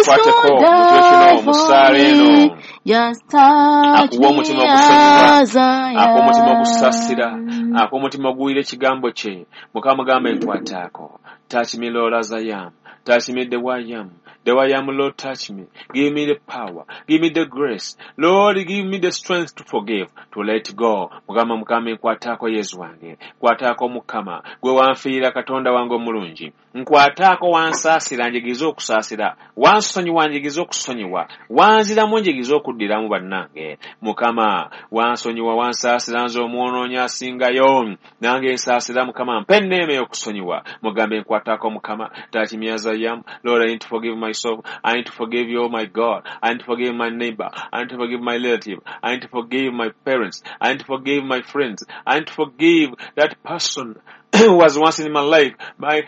Akukwateko to mu kiro kino die mu for ssaala eno. me. Just touch Akuwa me omutima ogusonyiwa, as I akuwa omutima ogusaasira, am. akuwa omutima oguwulira ekigambo kye. Mukama mugambe nkwataako. Touch me, Lord, as I am. Touch me the way I am. The way I am, Lord, touch me. Give me the power. Give me the grace. Lord, give me the strength to forgive, to let go. Mukama mukama nkwataako Yesu wange. Nkwataako Mukama. Gwe wanfiira Katonda wange omulungi. Nkwataako wansaasira njigize okusaasira. Wansonyiwa njigize okusonyiwa. Wanziramu njigize okuddiramu bannange. Mukama wansonyiwa wansaasira nze omwonoonyi asingayo. Nange nsaasira Mukama mpa enneema ey'okusonyiwa. Mugambe nkwataako Mukama. Touch me as I am. Lord, I need to forgive myself. I need to forgive you, oh my God. I need to forgive my neighbor. I need to forgive my relative. I need to forgive my parents. I need to forgive my friends. I need to forgive that person who was once in my life, my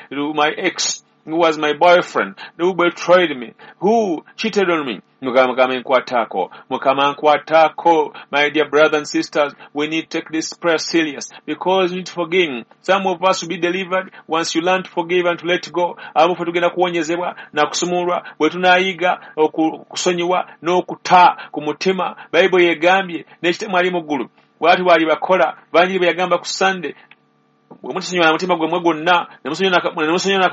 ex, who was my boyfriend, who betrayed me, who cheated on me. Mukama mukama nkwataako. Mukama nkwataako. My dear brothers and sisters, we need to take this prayer serious because we need to forgive. Some of us will be delivered once you learn to forgive and to let go. Abamu ffe tugenda kuwonyezebwa na kusumululwa bwe tunaayiga okusonyiwa n'okuta ku mutima. Bayibuli egambye n'ekitemu ali mu ggulu bw'ati bw'ali bakola bangi bwe yagamba ku Sunday bwe mutasonyiwa na mutima gwammwe gwonna ne musonyiwa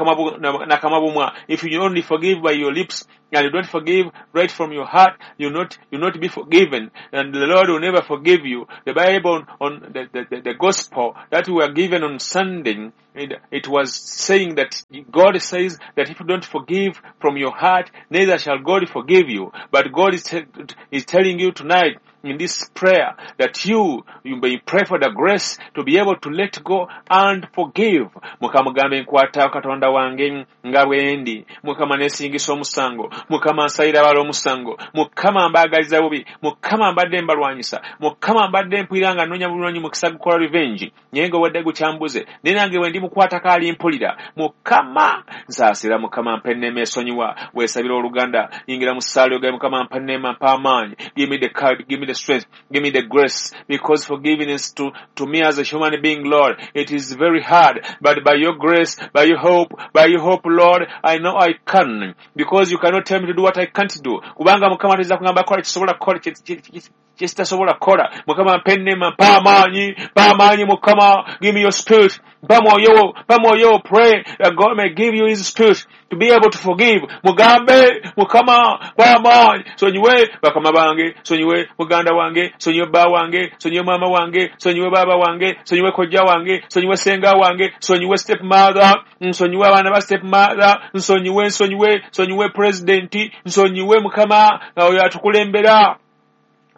n'akamwa bumwa. If you only forgive by your lips and you don't forgive right from your heart, you not be forgiven, and the Lord will never forgive you. The Bible on the gospel that we were given on Sunday, it was saying that God says that if you don't forgive from your heart, neither shall God forgive you. But God is telling you tonight in this prayer that you may pray for the grace to be able to let go and forgive. Mukama gambe nkwata Katonda wange nga bwe ndi. Mukama neesingisa omusango. Mukama nsayira abala omusango. Mukama mbaagaliza bubi. Mukama mbadde mbalwanyisa. Mukama mbadde mpulira nga nnoonya bulungi mukisa gukola revenge. Naye nga obadde gukyambuze. Naye nange bwe ndi mukwatako alimpulira. Mukama nsaasira. Mukama mpa enneema esonyiwa. Weesabira oluganda. Yingira mu ssaala ogambe Mukama mpa enneema, mpa amaanyi. Give me the courage, give me the strength, give me the grace, because forgiveness to me as a human being, Lord, it is very hard, but by your grace, by your hope, Lord, I know I can, because you cannot tell me to do what I can't do. Kubanga Mukama toyinza kugamba kola kisobola kukola kyesitasobola kukola. Mukama mpa enneema, mpa amaanyi Mukama, give me your spirit, mpa mwoyo wo, pray that God may give you his spirit to be able to forgive. Mugambe Mukama mpa amaanyi, sonyiwe bakama bange, sonyiwe muganda wange, sonyiwe bba wange, sonyiwe maama wange, sonyiwe baaba wange, sonyiwe kojja wange, sonyiwe senga wange, sonyiwe step mother, nsonyiwe abaana ba step mother, nsonyiwe, nsonyiwe, nsonyiwe president, nsonyiwe Mukama oyo atukulembera.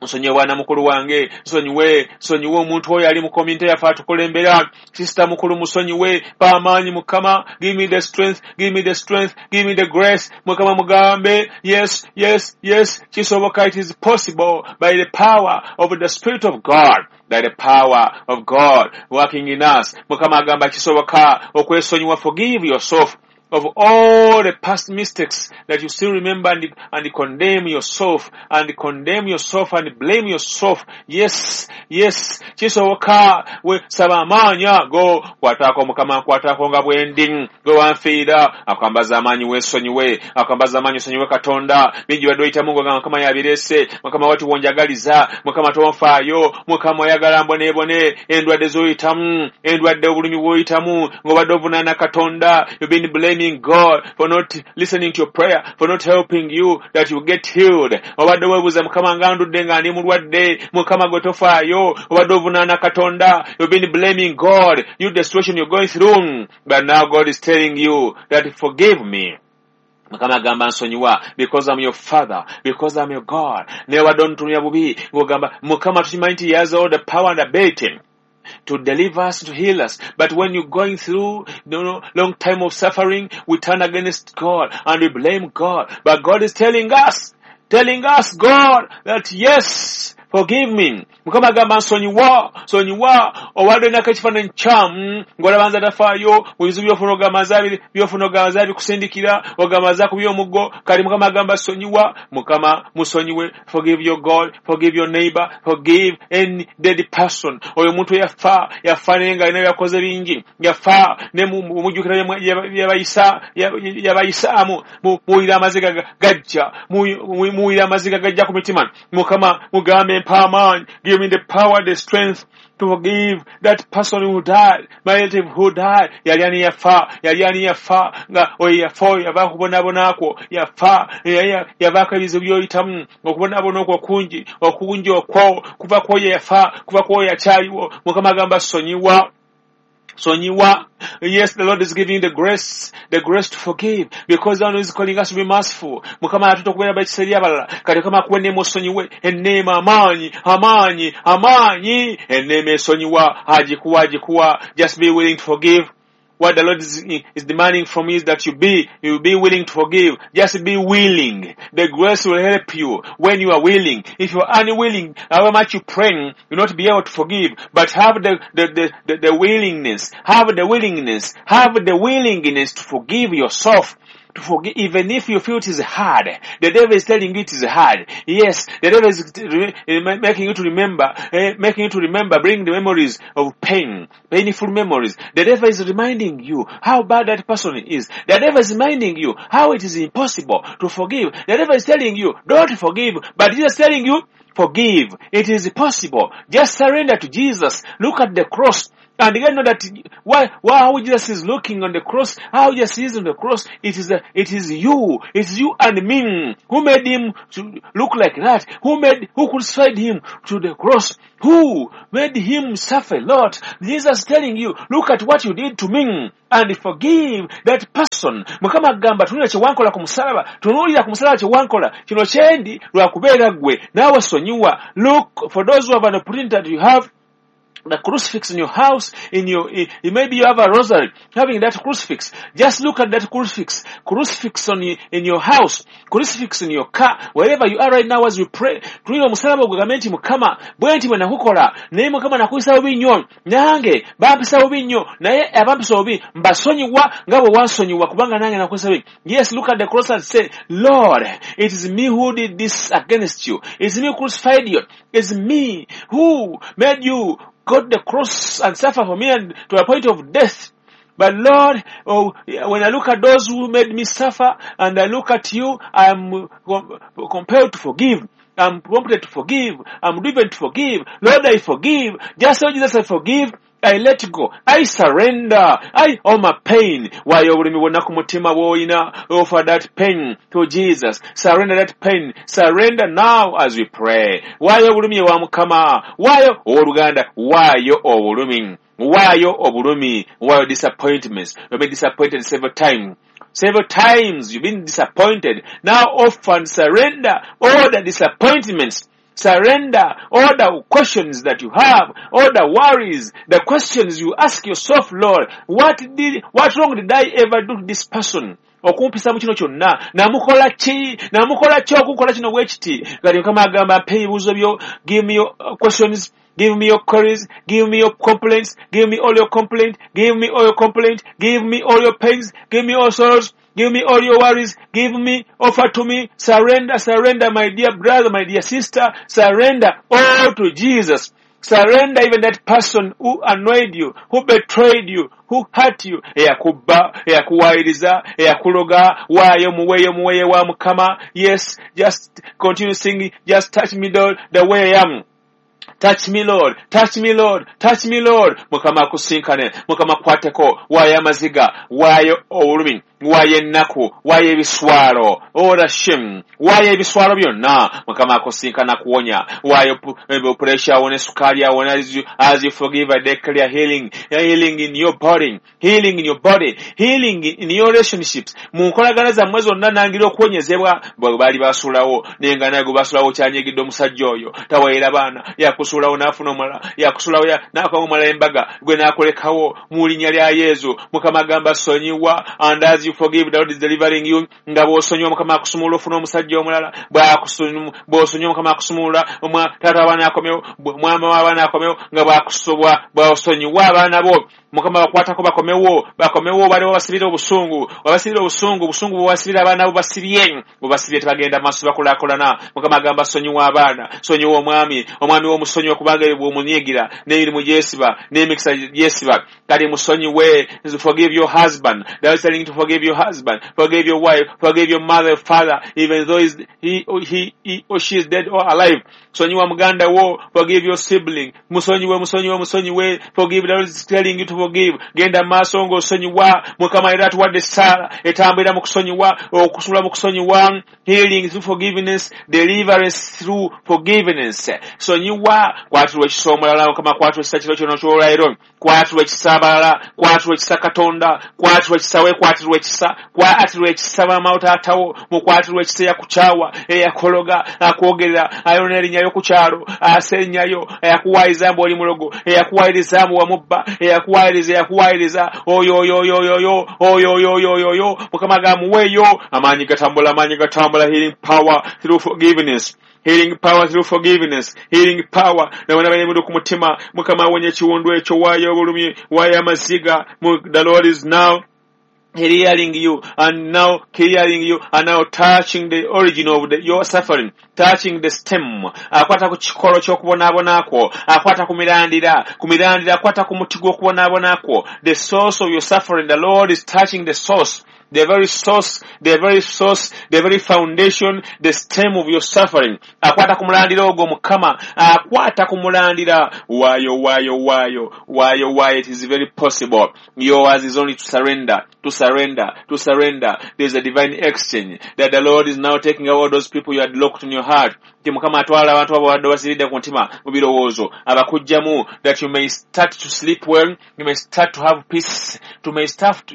Nsonyiwe bwana mukulu wange, nsonyiwe, nsonyiwe omuntu oyo ali mu community yaffe atukulembera. Sister mukulu musonyiwe, mpa amaanyi Mukama, give me the strength, give me the strength, give me the grace. Mukama mugambe, yes, yes, yes, kisoboka, it is possible by the power of the Spirit of God. By the power of God working in us. Mukama agamba kisoboka okwesonyiwa, forgive yourself of all the past mistakes that you still remember and condemn yourself, and condemn yourself and blame yourself. Yes, yes, kisoboka we saba amaanyi ago. Kwataako Mukama, nkwataako nga bwe ndi, gwe wanfiira. Akwambaza amaanyi weesonyiwe, akwambaza amaanyi osonyiwe Katonda. Bingi badde oyitamu ng'ogamba Mukama yabireese, Mukama wati wonjagaliza, Mukama tonfaayo, Mukama oyagala mboneebone. Endwadde z'oyitamu, endwadde obulumi bw'oyitamu, ng'obadde ovunaana Katonda. You've been blaming God for not listening to your prayer, for not helping you that you get healed. Obadde weebuuza Mukama nga ndudde nga ndi mulwadde, Mukama gwe tofaayo, obadde ovunaana Katonda. You've been blaming God, you the situation you're going through. But now God is telling you that forgive me. Mukama agamba nsonyiwa because I'm your father, because I'm your God. Naye obadde ontunuulira bubi ng'ogamba Mukama tukimanyi nti he has all the power and ability to deliver us, to heal us. But when you're going through long time of suffering, we turn against God and we blame God. But God is telling us, God, that yes, forgive me. Mukama agamba nsonyiwa, sonyiwa. Obadde nako ekifaananyi kyamu ng'olaba nze atafaayo mu bizibu by'ofuna, ogamba nze by'ofuna, ogamba nze abikusindikira, ogamba nze akubye omuggo. Kati Mukama agamba sonyiwa. Mukama musonyiwe. Forgive your God, forgive your neighbor, forgive any dead person. Oyo omuntu yafa, yafa naye nga alina byakoze bingi, yafa ne mujjukira yabayisaamu, muwulira amaziga gajja, muwulira amaziga gajja ku mitima. Mukama mugambe mpa amaanyi, give me the power, the strength to forgive that person who died, my relative who died. Yali ani yafa, yali ani yafa, nga oyo yafa, oyo yavaako okubonaabona kwo, yafa, yavaako ebizibu by'oyitamu, okubonaabona okwo kungi, okungi okwo kuva ku oyo yafa, kuva ku oyo akyaliwo. Mukama agamba sonyiwa, sonyiwa. Yes, the Lord is giving the grace to forgive, because the Lord is calling us to be merciful. Mukama atuta okubeera bakisa eri abalala. Kati Mukama akuwa enneema osonyiwe, enneema, amaanyi, amaanyi, amaanyi, enneema esonyiwa, agikuwa, agikuwa. Just be willing to forgive. What the Lord is demanding from you is that you be willing to forgive. Just be willing. The grace will help you when you are willing. If you are unwilling, however much you pray, you will not be able to forgive. But have the willingness. Have the willingness. Have the willingness to forgive yourself. To forgive, even if you feel it is hard. The devil is telling you it is hard. Yes, the devil is making you to remember, bring the memories of pain, painful memories. The devil is reminding you how bad that person is. The devil is reminding you how it is impossible to forgive. The devil is telling you, don't forgive. But Jesus is telling you, forgive. It is possible. Just surrender to Jesus. Look at the cross. And again, know that why how Jesus is looking on the cross, how Jesus is on the cross, it is you, it's you and me who made him to look like that, who crucified him to the cross, who made him suffer a lot. Jesus telling you, look at what you did to me and forgive that person. Mukama agamba tunuulira kye wankola ku musalaba, tunuulira ku musalaba kye wankola, kino kyendi lwa kubeera ggwe, naawe sonyiwa. Look, for those who have an opportunity that you have the crucifix in your house, maybe you have a rosary, having that crucifix. Just look at that crucifix in your house, crucifix in your car, wherever you are right now as you pray. Tunuulira omusalaba ogugambe nti Mukama, bwe nti bwe nakukola, naye Mukama nakuyisa bubi nnyo, nange bampisa bubi nnyo, naye abampisa bubi mbasonyiwa nga bwe wansonyiwa, kubanga nange nakuyisa bubi. Yes, look at the cross and say, Lord, it is me who did this against you. It's me who crucified you. It's me who made you go to the cross and suffer for me and to a point of death. But Lord, oh, when I look at those who made me suffer and I look at you, I am compelled to forgive. I'm prompted to forgive. I'm driven to forgive. Lord, I forgive. Just so Jesus, I forgive. I let go. I surrender. I all my pain. Why obulumi bwonna ku mutima bw'olina, offer that pain to Jesus. Surrender that pain. Surrender now as we pray. Waayo obulumi ewa Mukama. Waayo owooluganda. Waayo obulumi. Waayo obulumi. Waayo disappointments. You've been disappointed several times. Several times you've been disappointed. Now offer and surrender all the disappointments. Surrender all the questions that you have, all the worries, the questions you ask yourself, Lord, what wrong did I ever do to this person? Okumpisa mu kino kyonna, namukola ki? Namukola ki okunkola kino bwe kiti? Kati Mukama agamba, mpa ebibuuzo byo, give me your questions, give me your queries, give me your complaints, give me all your complaints, give me all your complaints, give me all your pains, give me all sorrows, give me all your worries, give me, offer to me, surrender, surrender, my dear brother, my dear sister, surrender all to Jesus. Surrender even that person who annoyed you, who betrayed you, who hurt you. Eyakubba, eyakuwayiriza, eyakuloga, waayo muweeyo muweeyo wa Mukama. Yes, just continue singing, just touch me Lord, the way I am. Touch me Lord, touch me Lord, touch me Lord. Mukama akusinkane, Mukama akwateko, waayo amaziga, waayo obulumi, waayo ennaku, waayo ebiswalo, all shame, waayo ebiswalo byonna. Mukama akusinkana kuwonya, waayo pressure awone, sukaali awone. As you forgive, I declare healing, healing in your body, healing in your body, healing in your relationships. Mu nkolagana zammwe zonna nangira okuwonyezebwa. Bwe baali basuulawo, naye nga naye gwe basuulawo kyanyegedde omusajja oyo, taweera baana, yakusuulawo n'afuna omulala, yakusuulawo n'akola omulala embaga, gwe n'akulekawo mu linnya lya Yesu. Mukama agamba sonyiwa, and as you you forgive, the Lord is delivering you. Nga bw'osonyiwa Mukama akusumulula ofuna omusajja omulala. Bw'osonyiwa Mukama akusumulula taata w'abaana akomewo, mwama w'abaana akomewo. Nga bw'osonyiwa abaana bo Mukama bakwatako bakomewo, bakomewo. Baliwo basibira obusungu, wabasibira obusungu, obusungu bwewasibira abaana bo basibye, bwebasibye tebagenda maaso bakulaakulana. Mukama agamba sonyiwa abaana, sonyiwa omwami, omwami w'omusonyiwa kubanga ebyo bw'omunyiigira n'emirimu gyesiba n'emikisa gyesiba. Kati musonyiwe. Forgive your husband. The Lord is telling you to forgive your husband, forgive your wife, forgive your mother, father, even though he or she is dead or alive. Sonyiwa muganda wo, forgive your sibling. Musonyiwe, musonyiwe, musonyiwe. Forgive. The Lord is telling you to forgive. Genda maaso ng'osonyiwa. Mukama era atuwadde essaala etambulira mu kusonyiwa, okusula mu kusonyiwa. Healing through forgiveness, deliverance through forgiveness. Sonyiwa, kwatirwa ekisa omulala. Mukama kwatirwa ekisa kiro kino ky'olwaleero. Kwatirwa ekisa abalala, kwatirwa ekisa Katonda, kwatirwa ekisa weekwatirwa ekisa, kwatirwa ekisa maama wo taatawo, mukwatirwa ekisa eyakukyawa, eyakologa, akwogerera, ayonona erinnya ku kyalo, asennyayo, eyakuwaayiriza mbu oli mulogo, eyakuwaayiriza mbu wamubba, eyakuwaayiriza, eyakuwaayiriza, oyo oyo oyo oyo oyo oyo oyo oyo oyo oyo. Mukama gamuweeyo amaanyi gatambula, amaanyi gatambula. Healing power through forgiveness. Healing power through forgiveness. Healing power. Na wana bali ku mutima. Mukama awonye ekiwundu ekyo, waayo obulumi, waayo amaziga. The Lord is now healing you and now clearing you and now touching the origin of your suffering, touching the stem. Akwata ku kikolo ky'okubonaabona kwo, akwata ku mirandira, ku mirandira, akwata ku muti gw'okubonaabona kwo. The source of your suffering, the Lord is touching the source. The very source, the very source, the very foundation, the stem of your suffering. Akwata ku mulandira ogwo Mukama, akwata ku mulandira. Waayo, waayo, waayo, waayo, waayo. It is very possible. Yours is only to surrender, to surrender, to surrender. There is a divine exchange that the Lord is now taking all those people you had locked in your heart. Nti Mukama atwala abantu abo badde basiridde ku mutima mu birowoozo, abakuggyamu, that you may start to sleep well, you may start to have peace, you may start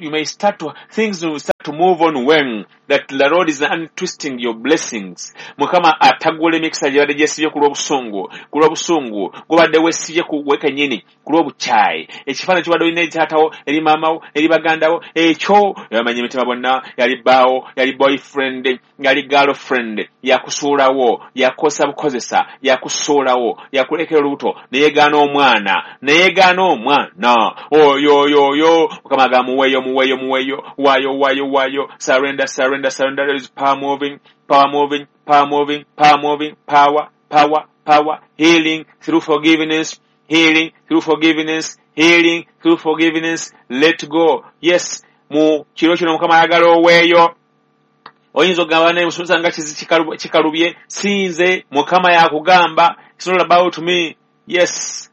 to, things will start to move on well, that the Lord is untwisting your blessings. Mukama atagula emikisa gyebadde gyesibye ku lw'obusungu, ku lw'obusungu gubadde weesibye ku we kennyini, ku lw'obukyayi. Ekifaananyi kibadde olina eri taatawo, eri maamawo, eri bagandawo, ekyo yabamanyi emitima bonna, yali bbaawo, yali boyfriend, yali girlfriend, yakusuulawo, yakukozesa bukozesa, yakusuulawo, yakulekera olubuto, neyegaana omwana, neyegaana omwana. Oyo oyo oyo Mukama agamba muweeyo, muweeyo, muweeyo, waayo, waayo, waayo. Surrender, surrender, surrender. There is power moving, power moving, power moving, power moving, power, power, power. Healing through forgiveness, healing through forgiveness, healing through forgiveness. Let go. Yes, mu kiro kino Mukama ayagala oweeyo. Oyinza okugamba naye musomesa nga kikalubye, sinze Mukama yakugamba. It's not about me. Yes,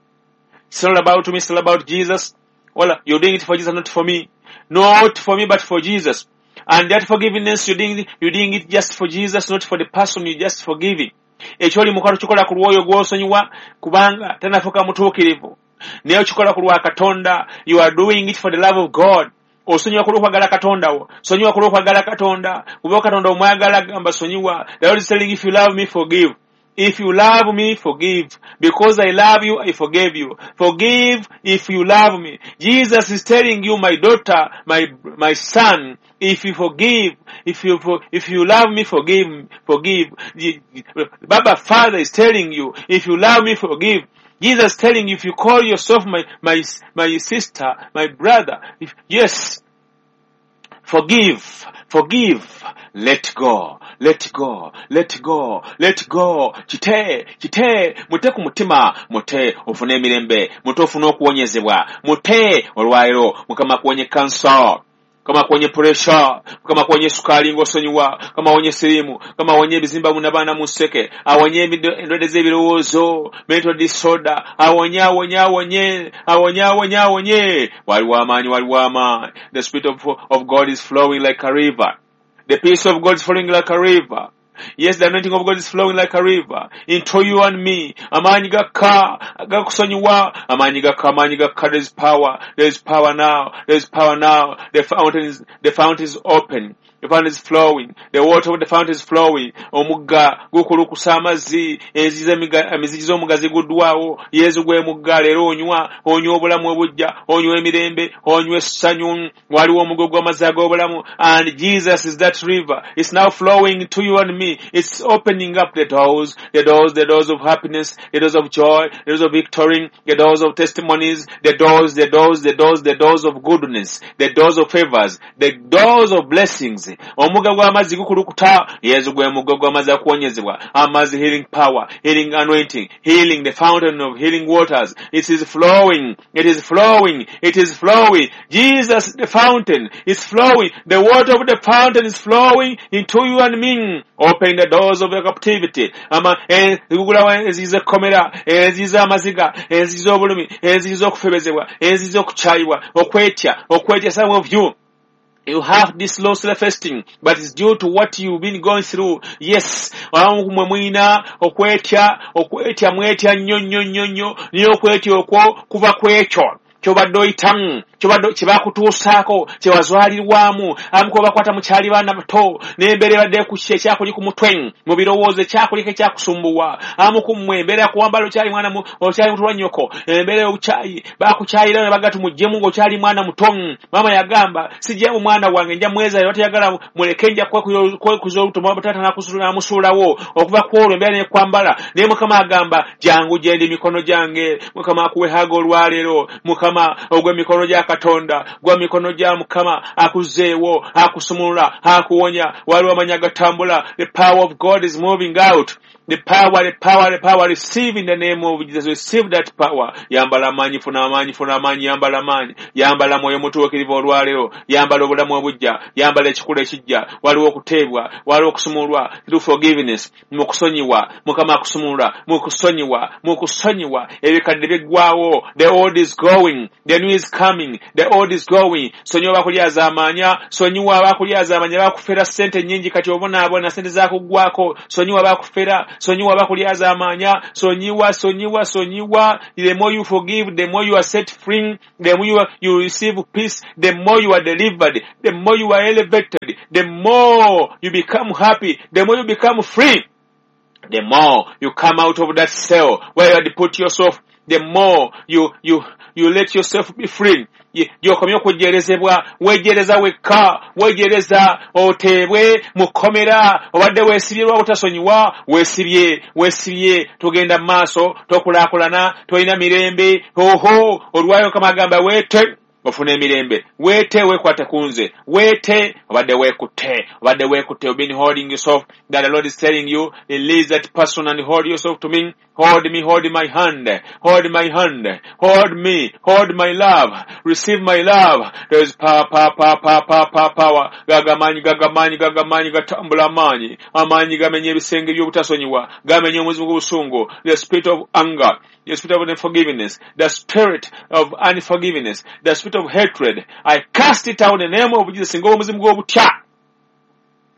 it's not about me, it's all about Jesus. Well, you're doing it for Jesus, not for me. Not for me, but for Jesus. And that forgiveness, you're doing it just for Jesus, not for the person you're just forgiving. Ekyoli mukola kikola ku lw'oyo gw'osonyiwa kubanga tannafuuka mutuukirivu. Naye okikola ku lwa Katonda. You are doing it for the love of God. Osonyiwa ku lw'okwagala Katonda wo. Sonyiwa ku lw'okwagala Katonda. Kuba Katonda omwagala gamba sonyiwa. The Lord is telling you, if you love me, forgive. If you love me, forgive. Because I love you, I forgave you. Forgive if you love me. Jesus is telling you, my daughter, my son, if you forgive, if you love me, forgive, forgive. Baba Father is telling you, if you love me, forgive. Jesus is telling you, if you call yourself my sister, my brother, yes, forgive, forgive, let go, let go, let go, let go. Kite, kite, mute ku mutima, mute ofune emirembe, mute ofune okuwonyezebwa, mute olwaleero Mukama akuwonye kansa, Mukama akuwonye pressure, Mukama akuwonye sukaali ng'osonyiwa, Mukama awonye siriimu, Mukama awonye ebizimba munabaana mu nseke, awonye endwadde z'ebirowoozo, mental disorder, awonye, awonye, awonye, awonye, awonye, awonye. Waliwo amaanyi, waliwo amaanyi. The Spirit of God is flowing like a river. The peace of God is flowing like a river. Yes, the anointing of God is flowing like a river into you and me. Amaanyi gakka, gakusonyiwa. Amaanyi gakka, amaanyi gakka. There is power. There is power now. There is power now. The fountain is open. The fountain is flowing. The water of the fountain is flowing. Omugga gukulukusa amazzi, emizigi z'omugga ziguddwawo. Yesu gwe mugga leero onywa, onywa obulamu obujja, onywa emirembe, onywa essanyu. Waliwo omugga gw'amazzi ag'obulamu, and Jesus is that river. It's now flowing to you and me. It's opening up the doors, the doors, the doors of happiness, the doors of joy, the doors of victory, the doors of testimonies, the doors, the doors, the doors, the doors of goodness, the doors of favors, the doors of blessings. Omugga gw'amazzi gukulukuta. Yesu gwe mugga gw'amazzi akuwonyezebwa, amazzi healing power, healing anointing, healing, the fountain of healing waters. It is flowing, it is flowing, it is flowing. Jesus, the fountain is flowing. The water of the fountain is flowing into you and me. Open the doors of the captivity. Zigugulawo enzigi z'ekkomera, enzigi z'amaziga, enzigi z'obulumi, enzigi z'okufebezebwa, enzigi z'okukyayibwa, okwetya, okwetya. Some of you, you have this low self-esteem, but it's due to what you've been going through. Yes, mwe mulina okwetya, okwetya, mwetya nnyo nnyo nnyo nnyo, naye okwetya okwo kuva ku ekyo kyobadde oyitamu, kyobadde kyebakutuusaako, kyewazwalirwamu. Abamu kuba bakwata mukyali baana bato, n'embeera ebadde ekuki ekyakuli ku mutwe mu birowoozo, ekyakuliko ekyakusumbuwa. Abamu ku mmwe embeera yakuwambala okyali mwana, okyali muto lwa nnyoko, embeera y'obukyayi, bakukyayira ne baga tumuggyemu ng'okyali mwana muto. Maama yagamba sijjamu mwana wange, nja mweza batayagala muleke, nja kwekuza olubuto, taata n'amusuulawo. Okuva ku olwo embeera nekwambala. Naye Mukama agamba jangu gyendi, mikono gyange. Mukama akuwe haga olwaleero. Mukama ogw'emikono gya Katonda, gwa mikono gya Mukama akuzzeewo, akusumulula, akuwonya. Waliwo amanyi agatambula. The power of God is moving out. The power, the power, the power. Receive in the name of Jesus. Receive that power. Yambala amaanyi, funa amaanyi, funa amaanyi, yambala amaanyi. Yambala mwoyo mutuukirivu olwaleero. Yambala obulamu obujja. Yambala ekikula ekijja. Waliwo okuteebwa, waliwo okusumululwa through forgiveness. Mu kusonyiwa, Mukama akusumulula, mu kusonyiwa, mu kusonyiwa. Ebikadde biggwawo. The old is going. The new is coming. The old is going. Sonyiwa bakulyazaamaanya, sonyiwa abakulyazaamaanya, bakufera ssente nnyingi kati obonaabona ssente zakuggwako. Sonyiwa bakufera, sonyiwa bakulyazaamaanya, sonyiwa, sonyiwa, sonyiwa. The more you forgive, the more you are set free, the more you receive peace, the more you are delivered, the more you are elevated, the more you become happy, the more you become free, the more you come out of that cell where you had put yourself, the more you let yourself be free. Gy'okomye okujjerezebwa, weejereza wekka, weejereza oteebwe mu kkomera obadde weesibye lwa butasonyiwa, weesibye, weesibye, togenda mu maaso, tokulaakulana, tolina mirembe. Oho, olwayo Mukama agamba weete ofune emirembe, weete weekwate ku nze, weete obadde weekutte, obadde weekutte. You've been holding yourself, that the Lord is telling you, release that person and hold yourself to me. Hold me, hold my hand, hold my hand, hold me, hold my love, receive my love. There is power, power, power, power, power, power, power. Gagamanyi, gagamanyi, gagamanyi, gatambula amaanyi. Amaanyi gamenya ebisenge by'obutasonyiwa, gamenya omuzimu gw'obusungu, the spirit of anger, the spirit of unforgiveness, the spirit of unforgiveness, the spirit of hatred. I cast it out in the name of Jesus. Ng'omuzimu gw'obutya,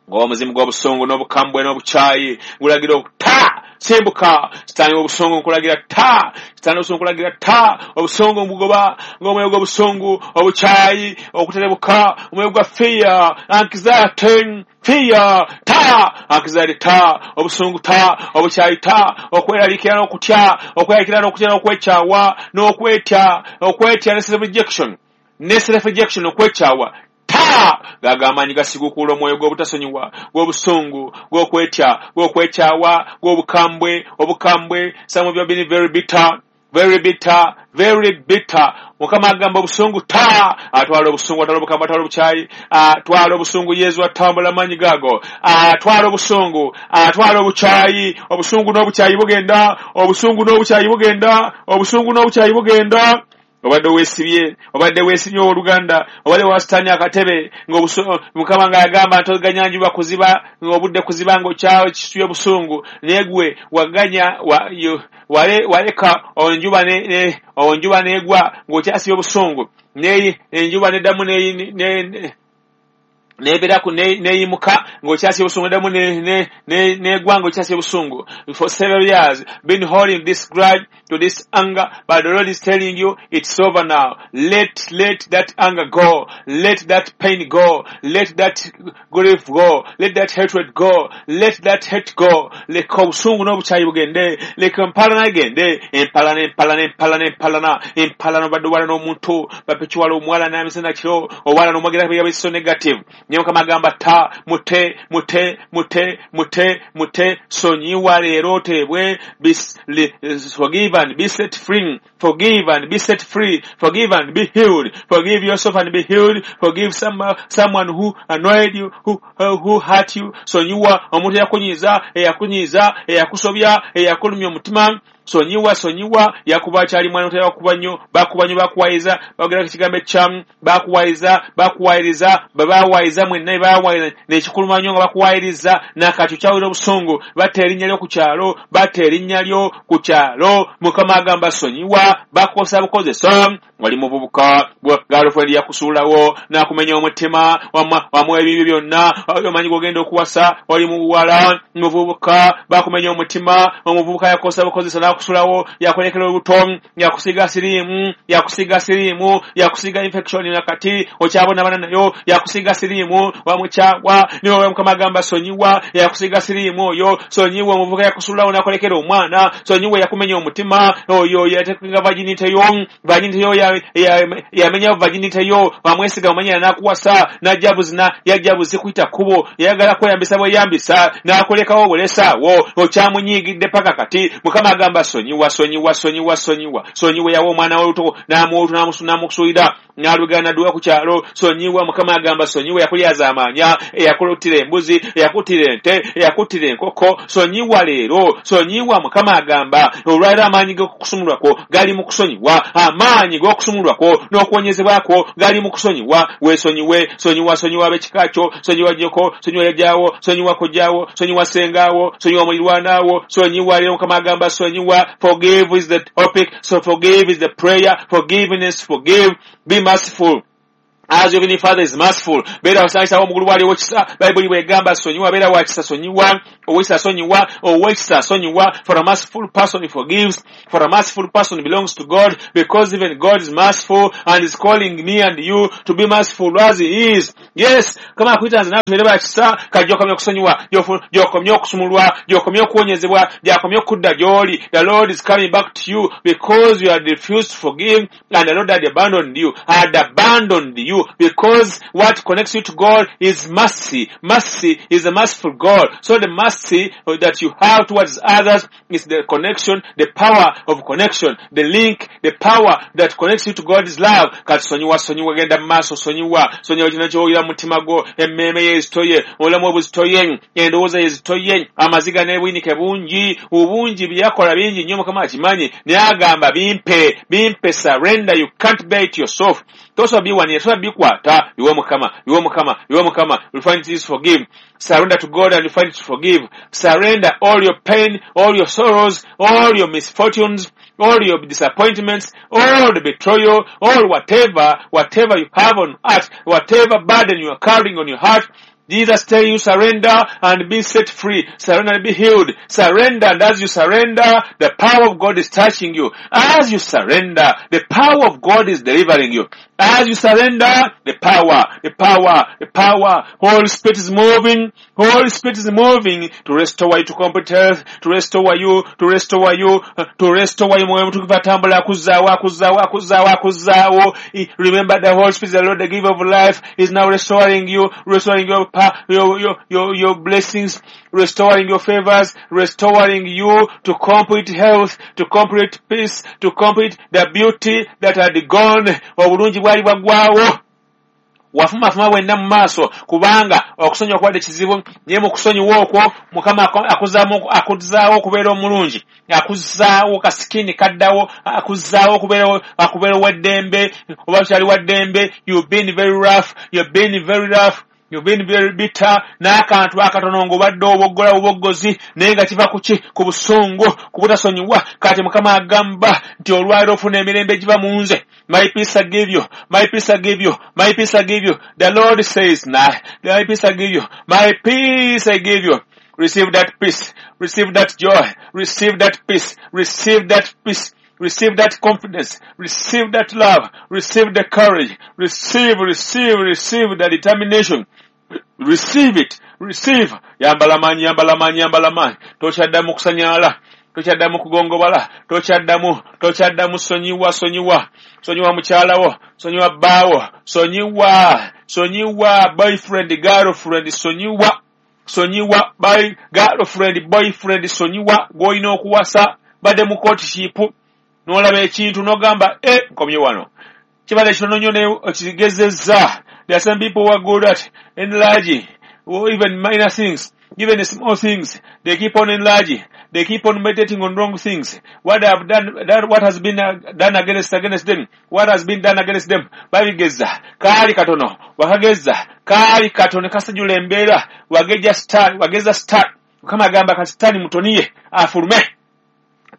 ng'omuzimu gw'obusungu n'obukambwe n'obukyayi, gulagira okuta simbuka. Sitaani w'obusungu nkulagira ta, sitaani w'obusungu nkulagira ta, obusungu mbugoba ng'omwoyo gw'obusungu, obukyayi, okuterebuka, omwoyo gwa fear, anxiety, fear, ta, anxiety ta, obusungu ta, obukyayi ta, okweraliikirira n'okutya, okweraliikirira n'okutya n'okwekyawa n'okwetya, okwetya ne self rejection, ne self rejection, okwekyawa ta. Gaga amaanyi gasigukuula omwoyo gw'obutasonyiwa, gw'obusungu, gw'okwetya, gw'okwekyawa, gw'obukambwe, obukambwe. Some of you have been very bitter, very bitter, very bitter. Mukama agamba obusungu ta, atwala obusungu, atwala obukambwe, atwala obukyayi, atwala obusungu. Yesu atambula amaanyi gaago, atwala obusungu, atwala obukyayi. Obusungu n'obukyayi bugenda, obusungu n'obukyayi bugenda, obusungu n'obukyayi bugenda. Obadde weesibye, obadde weesibye owooluganda, obadde wasitanya akatebe Mukama ng'agamba ntoganya njuba kuziba, ng'obudde kuziba ng'okyakisubye obusungu, naye gwe waganya waleka onjuba onjuba n'egwa ng'okyasibye obusungu, enjuba neddamu Nebeera neyimuka ng'okyasi obusungu ddamu negwa ng'okyasi obusungu. For several years been holding this grudge to this anger, but the Lord is telling you it's over now. Let that anger go, let that pain go, let that grief go, let that hatred go, let that hate go. Leka obusungu n'obukyayi bugende, leka empalana egende, empalana, empalana, empalana, empalana, empalana. Obadde owala n'omuntu bapekiwala omuwala n'amisana kiro owala n'omwogera bigambo so negative. Naye Mukama agamba ta mute mute mute mute mute. Sonyiwa leero oteebwe. Forgive and be set free. Forgive and be set free. Forgive and be healed. Forgive yourself and be healed. Forgive someone who annoyed you, who hurt you. Sonyiwa omuntu eyakunyiiza, eyakunyiiza, eyakusobya, eyakulumya omutima. Sonyiwa, sonyiwa. Yakuba akyali mwana otayakuba nnyo, bakuba nnyo, bakuwayiza, bagera ekigambo ekyamu, bakuwayiza, bakuwayiriza, babawayiza mwenna, bawayiza nekikuluma nnyo nga bakuwayiriza nakati okyawulira obusungu. Batta erinnya lyo ku kyalo, batta erinnya lyo ku kyalo. Mukama agamba sonyiwa, bakukozesa bukozesa. Wali muvubuka, girlfriend yakusuulawo n'akumenya omutima, wamuwa ebibyo byonna, omanyi gw'ogenda okuwasa. Wali muwala muvubuka, bakumenya omutima, omuvubuka yakukozesa bukozesa n'akusulawo, yakulekera olubuto, yakusiiga siriimu, yakusiiga siriimu, yakusiiga infection nakati okyabonabona nayo, yakusiiga siriimu, wamukyawa. Niwe Mukama agamba sonyiwa, yakusiiga siriimu oyo. Sonyiwa omuvubuka yakusulawo n'akulekera omwana. Sonyiwa yakumenya omutima oyo, yatekenga virginity yo, virginity yo yamenya virginity yo. Wamwesiga omanya n'akuwasa, n'ajja buzina, yajja buzi kuyita kkubo, yayagala kweyambisa bweyambisa, n'akulekawo obulesaawo, okyamunyiigidde paka kati. Mukama agamba sonyiwa, sonyiwa, sonyiwa, sonyiwa, sonyiwa. Yawa omwana w'oluto n'amuwa n'amusuulira n'alugana n'adduka ku kyalo. Sonyiwa. Mukama agamba sonyiwa yakulyazaamaanya, eyakuttira embuzi, eyakuttira ente, eyakuttira enkoko. Sonyiwa leero, sonyiwa. Mukama agamba olwaleero amaanyi g'okusumulwako gali mu kusonyiwa, amaanyi g'okusumulwako n'okuwonyezebwako gali mu kusonyiwa. Weesonyiwe, sonyiwa, sonyiwa ab'ekika kyo, sonyiwa nnyoko, sonyiwa jjajjaawo, sonyiwa kojjaawo, sonyiwa ssengaawo, sonyiwa mulirwanaawo. Sonyiwa leero. Mukama agamba sonyiwa. Forgive is the topic, so forgive is the prayer. Forgiveness, forgive, be merciful as your heavenly Father is merciful. Beera wasangisawo omugulu bwali ow'ekisa. Bayibuli bwegamba sonyiwa, beera wa kisa, sonyiwa, ow'ekisa sonyiwa, ow'ekisa sonyiwa. For a merciful person, he forgives. For a merciful person belongs to God, because even God is merciful and is calling me and you to be merciful as he is. Yes, kama akuyita nze naawe tubeere ba kisa. Kati gy'okomye okusonyiwa, gy'okomye okusumulwa, gy'okomye okuwonyezebwa, gy'akomye okudda gy'oli. The Lord is coming back to you because you had refused to forgive, and the Lord had abandoned you, had abandoned you, because what connects you to God is mercy. Mercy is a merciful God. So the mercy that you have towards others is the connection, the power of connection, the link, the power that connects you to God's love. Kati sonyiwa, sonyiwa, genda mu maaso, sonyiwa, sonyiwa kino ky'owulira mu mutima gwo, emmeeme ye ezitoye, obulamu obuzitoye, endowooza ye ezitoye, amaziga n'obuyinike bungi, obungi bye yakola bingi nnyo. Mukama akimanyi, naye agamba bimpe, bimpe, surrender. You can't bear it yourself. Tosobola biwanira, tosobola bikwata, biwe Mukama, biwe Mukama, biwe Mukama. You find it is forgive. Surrender to God and you find it to forgive. Surrender all your pain, all your sorrows, all your misfortunes, all your disappointments, all the betrayal, all whatever you have on earth, whatever burden you are carrying on your heart. Jesus tell you surrender and be set free. Surrender and be healed. Surrender, and as you surrender, the power of God is touching you. As you surrender, the power of God is delivering you. As you surrender, the power, the power, the power, Holy Spirit is moving. Holy Spirit is moving to restore you to complete health, to restore you, to restore you, to restore you. Mwoyo Mutukuvu atambula akuzzaawo, akuzzaawo, akuzzaawo, akuzzaawo. Remember, the Holy Spirit, the Lord, the giver of life, is now restoring you, restoring your blessings, restoring your favors, restoring you to complete health, to complete peace, to complete the beauty that had gone. Obulungi bwali bwaggwawo, wafumafuma bwenna mu maaso kubanga okusonyiwa kubadde kizibu, naye mu kusonyiwa okwo Mukama akuzzaawo okubeera omulungi, akuzzaawo ka skin kaddawo, akuzzaawo okubeera owaddembe oba kyali waddembe. You've been very rough, you've been very rough. You've been very bitter. N'akantu akatono ng'obadde oboggola buboggozi, naye nga kiva ku ki? Ku busungu, ku butasonyiwa. Kati Mukama agamba nti olwaliro ofuna emirembe egiva mu nze. My peace I give you, my peace I give you, my peace I give you. The Lord says, nah, my peace I give you, my peace I give you. Receive that peace, receive that joy, receive that peace, receive that peace. Receive that confidence, receive that love, receive the courage, receive, receive, receive the determination. Receive it, receive. Yambala maanyi, yambala maanyi, yambala maanyi. Tokyaddamu kusanyala, tokyaddamu kugongobala, tokyaddamu, tokyaddamu. Sonyiwa, sonyiwa, sonyiwa mukyala wo, sonyiwa bbaawo, sonyiwa, sonyiwa boyfriend, girlfriend, sonyiwa, sonyiwa by girlfriend, boyfriend, sonyiwa gw'olina okuwasa, badde mu courtship n'olaba ekintu n'ogamba, e nkomye wano, kibadde kitono nnyo naye okigezezza. There are some people who are good at enlarging or even minor things, even small things. They keep on enlarging, they keep on meditating on wrong things, what they have done, that what has been done against them, what has been done against them. Babigeza kaali katono, wakageza kaali katono, kasajula embeera, wageja star, wageza star. Mukama agamba kati sitaani mutoniye afulume.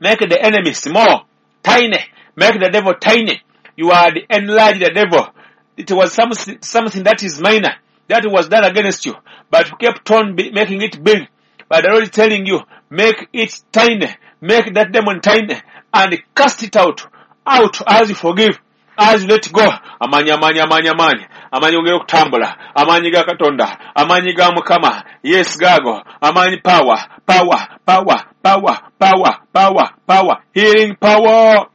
Make the enemy small, tiny. Make the devil tiny. You are the enlarge the devil. It was something that is minor that was done against you, but you kept on making it big. But the Lord is telling you, make it tiny, make that demon tiny, and cast it out, out as you forgive, as you let go. Amaanyi, amaanyi, amaanyi, amaanyi, amaanyi ogera okutambula, amaanyi ga Katonda, amaanyi ga Mukama. Yes, gago amaanyi. Power, power, power, power, power, power, power, healing power.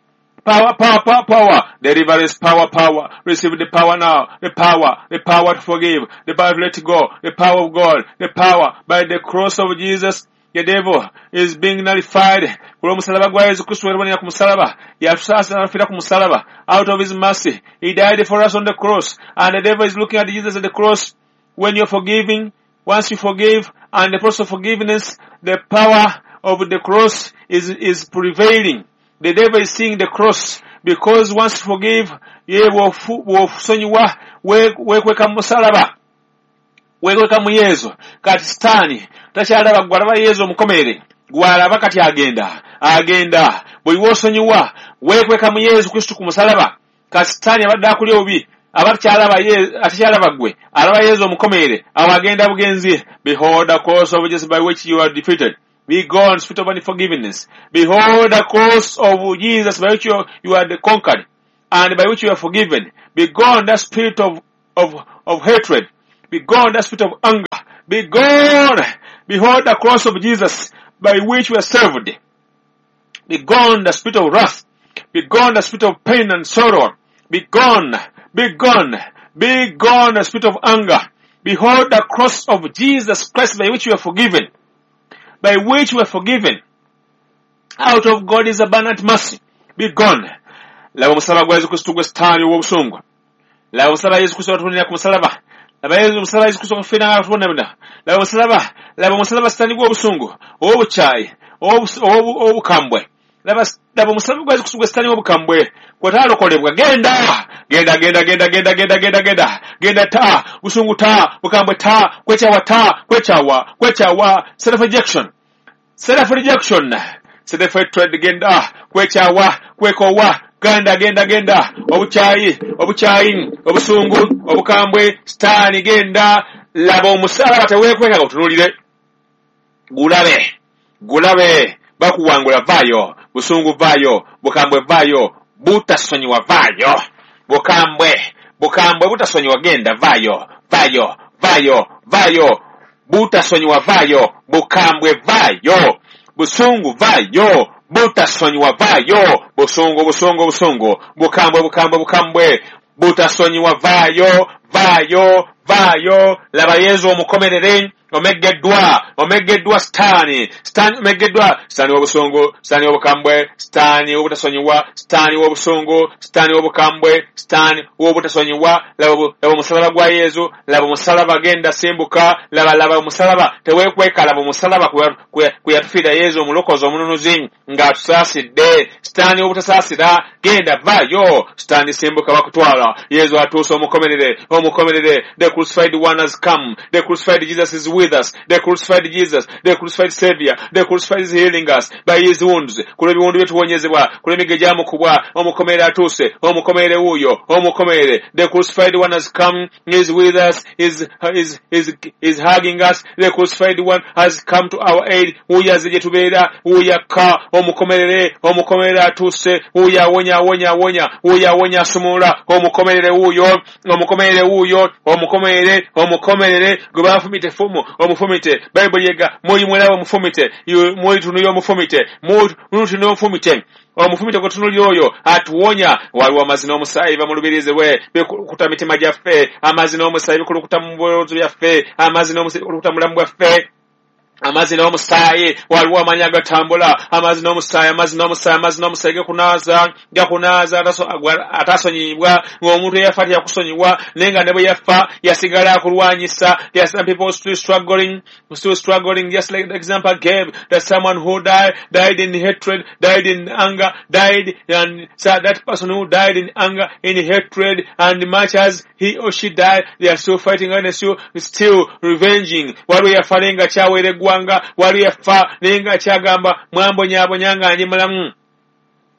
Power, power, power, power. Deliverance, power, power. Receive the power now. The power to forgive, the power to let go, the power of God, the power by the cross of Jesus. The devil is being nullified. Ku lw'omusalaba gwa Yesu Kristo yatubonera ku musalaba, yatusaasira n'afiira ku musalaba. Out of his mercy, he died for us on the cross. And the devil is looking at Jesus at the cross. When you're forgiving, once you forgive, and the process of forgiveness, the power of the cross is prevailing. The devil is seeing the cross because once you forgive, ye bw'osonyiwa weekweka mu musalaba, weekweka mu Yesu. Kati sitaani takyalaba gwe, alaba Yesu omukomerere gw'alaba. Kati agenda, agenda. Bwe wosonyiwa weekweka mu Yesu Kristo ku musalaba. Kati sitaani abadde akuli obubi aba takyalaba, atakyalaba gwe, alaba Yesu omukomerere. Awo agenda bugenzi. Behold the cross of Jesus by which you are defeated. Be gone, spirit of unforgiveness. Behold the cross of Jesus by which you are conquered and by which you are forgiven. Be gone, that spirit of hatred. Be gone, that spirit of anger. Be gone. Behold the cross of Jesus by which we are saved. Be gone, the spirit of wrath. Be gone, the spirit of pain and sorrow. Be gone. Be gone. Be gone, the spirit of anger. Behold the cross of Jesus Christ by which you are forgiven. By which we are forgiven. Out of God's abundant mercy. Be gone. Laba omusalaba gwa Yesu Kristo gwe sitaani ow'obusungu. Laba omusalaba Yesu Kristo watubonera ku musalaba. Laba Yesu, omusalaba Yesu Kristo okufiira nga atubonabona. Laba omusalaba, laba omusalaba sitaani gw'obusungu, ow'obukyayi, ow'obukambwe. Laba, laba omusalaba gwa Yesu Kristo gwe sitaani w'obukambwe kwetaalokolebwa. Genda, genda, genda, genda, genda, genda, genda, genda, genda. Ta busungu, ta bukambwe, ta kwekyawa, ta kwekyawa, kwekyawa, self rejection, self rejection, self hatred. Genda, kwekyawa, kwekowa, genda, genda, genda. Obukyayi, obukyayi, obusungu, obukambwe, sitaani genda. Laba omusalaba, teweekweka, otunuulire, gulabe, gulabe bakuwangula. Vaayo busungu, vaayo bukambwe, vaayo butasonyiwa, vaayo bukambwe, bukambwe, butasonyiwa, genda, vaayo, vaayo, vaayo, vaayo butasonyiwa, vaayo bukambwe, vaayo busungu, vaayo butasonyiwa, vaayo busungu, busungu, busungu, bukambwe, bukambwe, bukambwe, butasonyiwa, vaayo, vaayo, vaayo. Laba Yesu omukomerere. Omeggeddwa, omeggeddwa sitaani, sitaani omeggeddwa, sitaani w'obusungu, sitaani w'obukambwe, sitaani w'obutasonyiwa, sitaani w'obusungu, sitaani w'obukambwe, sitaani w'obutasonyiwa. Laba omusalaba gwa Yesu, laba omusalaba, genda simbuka, laba laba omusalaba, teweekweka, laba omusalaba kwe yatufiira Yesu omulokozi omununuzi ng'atusaasidde. Sitaani w'obutasaasira, genda vaayo, sitaani simbuka, bakutwala. Yesu atuuse, omukomerere, omukomerere. The crucified one has come, the crucified Jesus is with us, the crucified Jesus, the crucified Savior, the crucified is healing us by his wounds. Ku lw'ebiwundu bye tuwonyezebwa, ku lw'emiggo egyamukubwa, omukomerere atuuse, omukomerere wuuyo, omukomerere. The crucified one has come, is with us, is hugging us. The crucified one has come to our aid. Wuuyo azze gye tubeera, wuuyo akka, omukomerere, omukomerere atuuse, wuuyo awonya, awonya, awonya, wuuyo awonya, asumulula, omukomerere wuuyo, omukomerere wuuyo, omukomerere, omukomerere, gwe bafumite effumu, omufumite. Bayibuli ega muli mulaba omufumite, mulitunulira omufumite, mulitunulira omufumite, omufumite gwe tutunulira oyo atuwonya. Waliwo amazzi n'omusaayi biva mu lubirizi lwe bikulukuta mitima gyaffe, amazzi n'omusaayi bikulukuta mu birowoozo byaffe, amazzi n'omusaayi bikulukuta mu bulamu bwaffe, amazzi n'omusaayi. Waliwo amaanyi agatambula, amazzi n'omusaayi, amazzi n'omusaayi, amazzi n'omusaayi gakunaaza, gakunaaza atasonyiyibwa. Ng'omuntu eyafa teyakusonyiwa, naye nga ne bwe yafa yasigala akulwanyisa. There are some people still struggling, still struggling, just like the example I gave, that someone who died in hatred, died in anger, died, and so that person who died in anger, in hatred, and much as he or she died, they are still fighting and still revenging. Waliwo yafa naye nga kyaweera eggwanga, waliwo yafa naye nga kyagamba mwambonyaabonya nga ndi mulamu,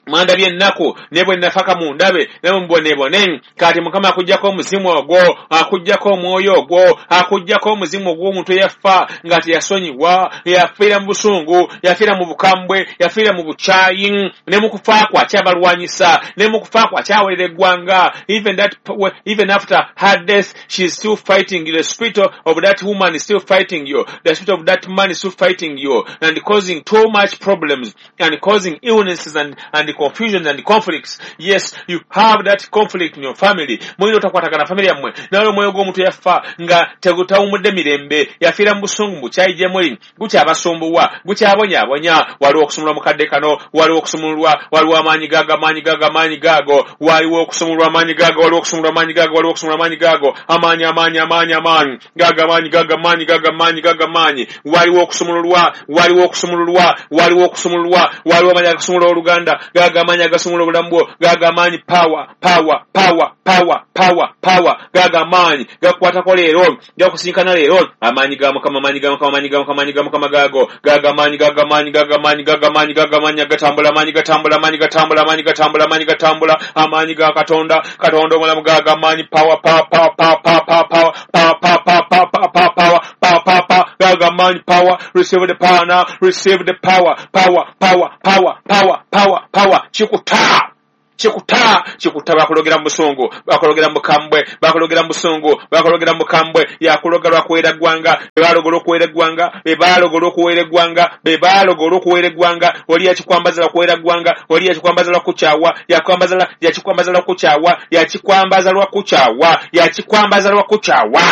mwandabye ennaku, ne bwe nafaka mundabe, ne mubonebone. Kati Mukama akuggyako omuzimu ogwo, akuggyako omwoyo ogwo, akuggyako omuzimu ogw'omuntu eyafa nga teyasonyiwa, yafiira mu busungu, yafiira mu bukambwe, yafiira mu bukyayi, ne mu kufa kwe akyabalwanyisa, ne mu kufa kwe akyawerera eggwanga. Even after her death, she is still fighting. The spirit of that woman is still fighting you, the spirit of that man is still fighting you and causing too much problems and causing illnesses and confusion and conflicts. Yes, you have that conflict in your family. Mulina otakwatagana family yammwe, naye omwoyo gw'omuntu yafa nga tegutawumudde mirembe, yafiira mu busungu, bukyayi gye muli, gukyabasumbuwa, gukyabonyaabonya. Waliwo okusumulwa mu kadde kano, waliwo okusumululwa, waliwo amaanyi gaago, amaanyi gaago, amaanyi gaago, waliwo okusumululwa amaanyi gaago, waliwo okusumulwa amaanyi gaago, waliwo okusumulwa amaanyi gaago, amaanyi, amaanyi, amaanyi, amaanyi gaago, amaanyi gaago, amaanyi gaago, amaanyi gaago, amaanyi. Waliwo okusumululwa, waliwo okusumululwa, waliwo okusumululwa, waliwo amaanyi agasumulula oluganda, gaago amaanyi agasumulula obulamu bwo, gaago amaanyi, power, power, power, power, power, power, gaago amaanyi gakukwatako leero, gakusinkana leero. Amaanyi ga Mukama, amaanyi ga Mukama, amaanyi ga Mukama, amaanyi ga Mukama gaago, gaago amaanyi, gaago amaanyi, gaago amaanyi, gaago amaanyi, gaago amaanyi agatambula, amaanyi gatambula, amaanyi gatambula, amaanyi gatambula, amaanyi gatambula, amaanyi ga Katonda, Katonda omulamu, gaago amaanyi, power, power, power, power, power, power, power, power, power, power, power, power, power, power, power, gaago amaanyi, power, receive the power now, receive the power, power, power, power, power, power, power, kikuta, kikuta, kikuta. Bakulogera mu busungu, bakulogera mu bukambwe, bakulogera mu busungu, bakulogera mu bukambwe. Yakuloga lwakuweera ggwanga, be baalogola okuweera eggwanga, be baalogola okuweera eggwanga, be baalogola okuweera eggwanga. Oli yakikwambaza lwakuweera ggwanga, oli yakikwambaza lwakukyawa, yakwambaza, yakikwambaza lwakukyawa, yakikwambaza lwakukyawa, yakikwambaza lwakukyawa,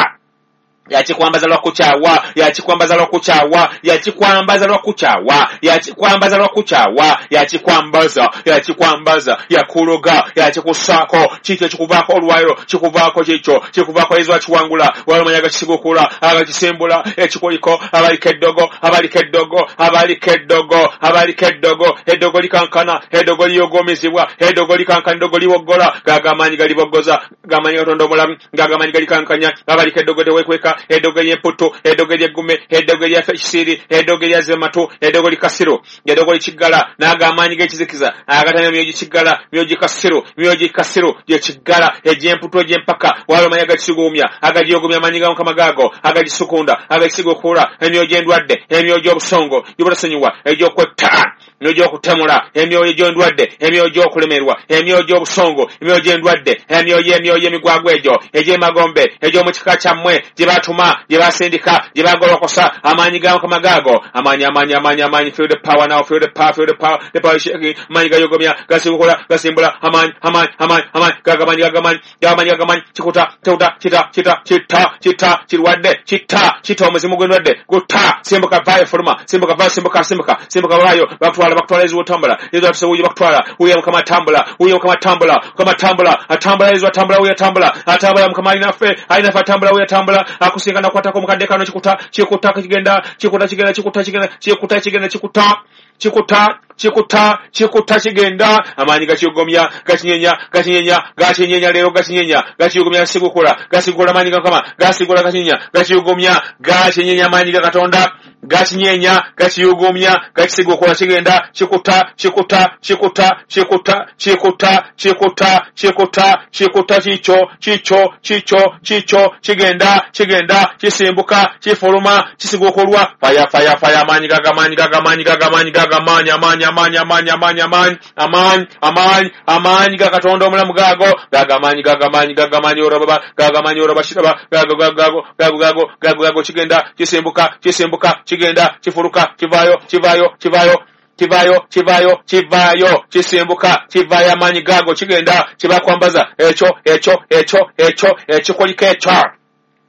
yakikwambaza lwakukyawa, yakikwambaza lwakukyawa, yakikwambaza lwakukyawa, yakikwambaza lwakukyawa, yakikwambaza, yakikwambaza, yakuloga, yakikusaako. Kikyo kikuvaako olwaliro, kikuvaako kikyo, kikuvaako. Yesu akiwangula. Waliwo amaanyi agakisigukula, agakisimbula ekikoliko. Abaliko eddogo, abaliko eddogo, abaliko eddogo, abaliko eddogo, eddogo likankana, eddogo liyogomezebwa, eddogo likankana, eddogo liwoggola. Gaago amaanyi galiboggoza, gamaanyi Katonda omulamu, gaago amaanyi galikankanya. Abaliko eddogo teweekweka, eddogo ery'emputtu, eddogo ery'eggume, eddogo erya kisiiri, eddogo erya zematu, eddogo likasiru, eddogo likiggala, n'ago amaanyi g'ekizikiza agatalina myoyo gikiggala, myoyo gikasiru, myoyo gikasiru gyekiggala, egy'emputtu, egy'empaka. Waliwo amaanyi agakisigumya, agagiyogumya, amaanyi ga Mukama gaago agagisukunda, agagisigukuula emyoyo gy'endwadde, emyoyo gy'obusongo, gy'obutasonyiwa, egy'okwetta, emyoyo gy'okutemula, emyoyo gy'endwadde, emyoyo gy'okulemerwa, emyoyo gy'obusongo, emyoyo gy'endwadde, emyoyo, emyoyo emigwagwa egyo egy'emagombe, egy'omu kika kyammwe gye batuma, gye basindika, gye bagolokosa, amaanyi ga Mukama gaago, amaanyi, amaanyi, amaanyi, amaanyi, feel the power now, feel the power, feel the power, the power is shaking, amaanyi gayogomya, gasibukula, gasimbula, amaanyi, amaanyi, amaanyi, amaanyi, gagamanyi, gagamanyi, gagamanyi, gagamanyi, kikuta, kikuta, kita, kita, kita, kita, kirwadde, kita, kita omuzimu gw'endwadde, gutta, simbuka, vaayo, fuluma, simbuka, vaayo, simbuka, simbuka, simbuka, vaayo, bakutwala, bakutwala, Yesu otambula, Yesu atuse wuyo, bakutwala, wuyo Mukama atambula, wuyo Mukama atambula, Mukama atambula, atambula, Yesu atambula, wuyo atambula, atambula, Mukama alinaffe, alinaffe atambula, wuyo atambula, akusinga nakwatako mukadde kano, kikuta, kikuta, kigenda, kikuta, kigenda, kikuta, kigenda, kikuta, kigenda, kikuta, kikuta, kikuta, kikuta, kigenda, amaanyi gakiyogomya, gakinyenya, gakinyenya, gakinyenya, leero gakinyenya, gakiyogomya, gasigukula, gasigula amaanyi ga Mukama, gasigula, gakinyenya, gakiyogomya, gakinyenya, amaanyi ga Katonda, gakinyenya, gakiyogomya, gakisigukula, kigenda, kikuta, kikuta, kikuta, kikuta, kikuta, kikuta, kikuta, kikuta, kikyo, kikyo, kikyo, kikyo, kigenda, kigenda, kisimbuka, kifuluma, kisigukulwa, fire, fire, fire, amaanyi gaga, amaanyi gaga, amaanyi gaga, amaanyi gaga, amaanyi, amaanyi, amaanyi, amaanyi, amaanyi, amaanyi, amaanyi, amaanyi, amaanyi ga Katonda omulamu gaago, gaga amaanyi, gaga amaanyi, gaga amaanyi, orababa, gaga amaanyi, orabashiraba, gago, gago, gago, gago, gago, gago, gago, kigenda, kisimbuka, kisimbuka, kigenda, kifuluka, kivaayo, kivaayo, kivaayo, kivaayo, kivaayo, kivaayo, kisimbuka, kivaayo, amaanyi gaago, kigenda, kibakwambaza, ekyo, ekyo, ekyo, ekyo, ekikoliko ekyo,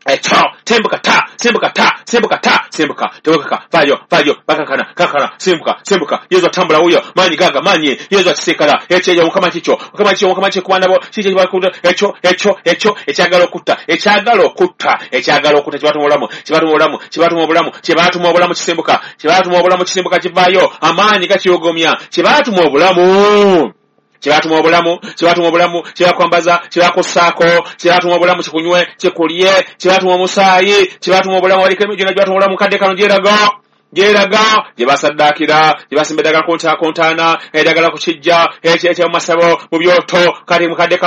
ekyo, simbuka ta, simbuka ta, simbuka ta, simbuka, tewekaka, vaayo, vaayo, bakakana, kakana, simbuka, simbuka, Yesu atambula wuyo, maanyi gaga, maanyi, Yesu akisikala, ekyo, ekyo, Mukama kikyo, Mukama kikyo, Mukama kikyo, ku baana bo, kikyo kibakuta, ekyo, ekyo, ekyo, ekyagala okutta, ekyagala okutta, ekyagala okutta, kibatuma obulamu, kibatuma obulamu, kibatuma obulamu, kibatuma obulamu, kisimbuka, kibatuma obulamu, kisimbuka, kivaayo, amaanyi gakiyogomya, kibatuma obulamu. Kibatuma obulamu, kibatuma obulamu, kibakwambaza, kibakussaako, kibatuma obulamu, kikunywe, kikulye, kibatuma omusaayi, kibatuma obulamu, waliko emijuna, kibatuma obulamu, kadde kano gyeraga, gyeraga, gye basaddaakira, gye basimba eddagala ku ntaana, eddagala ku kijja, ekyo mu masabo, mu byoto, kati mukadde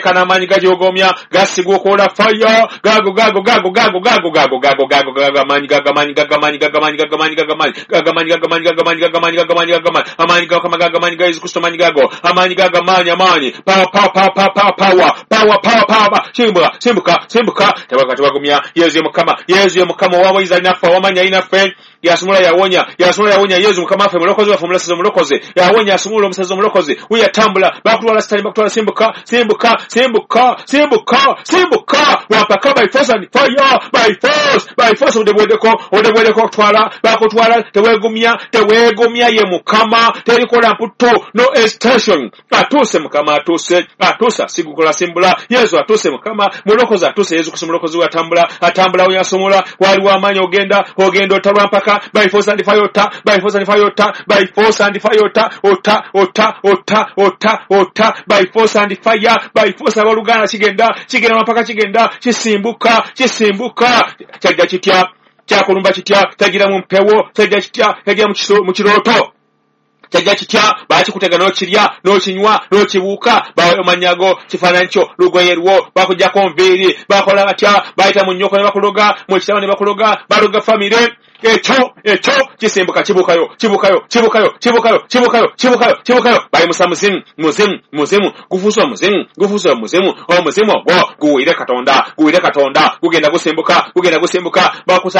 kano amaanyi gagyogomya, gasiguukula fire, gago, gago, gago, gago, gago, gago, gago, gago, gago, amaanyi gago, amaanyi gago, amaanyi gago, amaanyi gago, amaanyi gago, amaanyi gago, amaanyi gago, amaanyi gago, amaanyi gago, amaanyi gago, amaanyi gago, amaanyi gago, amaanyi gago, amaanyi ga Yesu Kristo, amaanyi gago, amaanyi gago, amaanyi, amaanyi, power, power, power, power, power, power, power, power, simbuka, simbuka, simbuka, tebagumya, Yesu ye Mukama, Yesu ye Mukama, ow'obuyinza alinaffe, ow'amaanyi alinaffe, yasumula yawonya, yasumula yawonya, Yesu Mukama waffe, mulokozi waffe, omulasazi omulokozi, yawonya, asumula omusazi omulokozi, we yatambula, bakutwala sitani, bakutwala, simbuka, simbuka, simbuka, simbuka, simbuka, wampaka by force and fire, by force, by force, odebwedeko, odebwedeko okutwala, bakutwala, tewegumya, tewegumya ye Mukama, terikola mputo, no hesitation, atuuse Mukama, atuuse, atuuse, asigukola simbula, Yesu atuuse Mukama, mulokozi atuuse, Yesu Kristo mulokozi we atambula, atambula, we yasumula, waliwo amaanyi ogenda, ogenda otalwa mpaka, by force and fire, ota, by force and fire, ota, by force and fire, ota, ota, ota, ota, ota, ota, by force and fire, by force, abooluganda kigenda, kigenda mpaka kigenda, kisimbuka, kisimbuka, kyajja kitya, kyakulumba kitya, kyagira mu mpewo, kyajja kitya, kyagira mu kirooto, kyajja kitya, bakikutega n'okirya, n'okinywa, n'okibuuka, bamanyago, kifaananyi kyo, lugoye lwo, bakuggyako nviiri, bakola batya, bayita mu nnyoko ne bakuloga, mu kitabo ne bakuloga, baloga famire, ekyo, ekyo, kisimbuka, kibuukayo, kibuukayo, kibuukayo, kibuukayo, kibuukayo, kibuukayo, kibuukayo, bayimusa muzimu, muzimu, muzimu, gufuuse omuzimu, gufuuse omuzimu, omuzimu ogwo guwulire Katonda, guwulire Katonda, gugenda gusimbuka, gugenda gusimbuka, bakusa